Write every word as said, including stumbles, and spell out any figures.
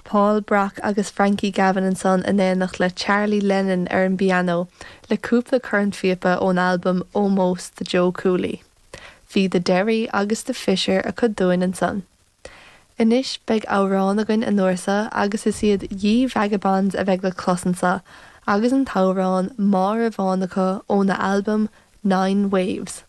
Paul Brock agus Frankie Gavin ansan in éineacht le Charlie Lennon ar an bpianó le cúpla cornphíopa ón albam Ómós do Joe Cooley. Bhí The Derry agus The Fisher acu dúinn ansan. Anois beidh amhrán againn an uair seo agus is iad Ye Vagabonds a bheidh le clos anseo agus an t-amhrán Máire Bhán acu óna albam Nine Waves.